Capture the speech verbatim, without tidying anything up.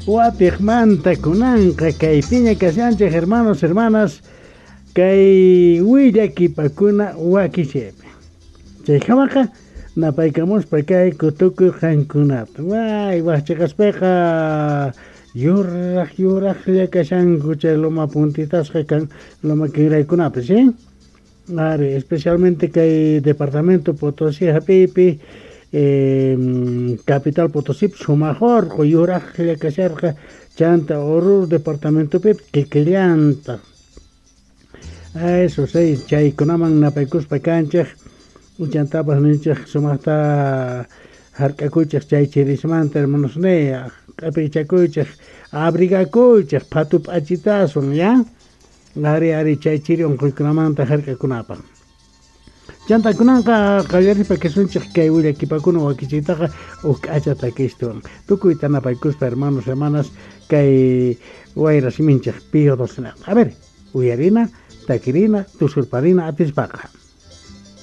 Watiqmanta kunanqa kaypiña kashanchik, hermanos, hermanas, kay willakipakuna wakichaypi. Chaykamaqa napaykamuspa kayku tukuy qankunata. Way, waqchiqaspiqa yuraq yuraqlla kashanku chay loma puntitasqa kan loma kinraykunapis, ¿sí? Ari, especialmente kay departamento Potosí hap'iypi, eh, capital Potosí sumaq urqu yuraqlla kasharqa, chanta Oruro departamentopi kikillantaq. Eso sí, chaykunaman napaykuspa kanchik, chantapas ninchik sumaqta hark'akuychik chay chirismanta, hermanos niy, q'apichakuychik, abrigakuychik phatu p'achitaswan, ya. Ari, ari, chay chiri unquykunamanta hark'akunapaq. Chanta kunanqa qallarispa kasunchik kay willakipakuna wakichiytaqa huk k'acha takistuwan. Tukuyta napaykuspa, hermanos, hermanas, kay wayra siminchik Pío doce. A ver, uyarina, takirina, tusurparina atispaqa.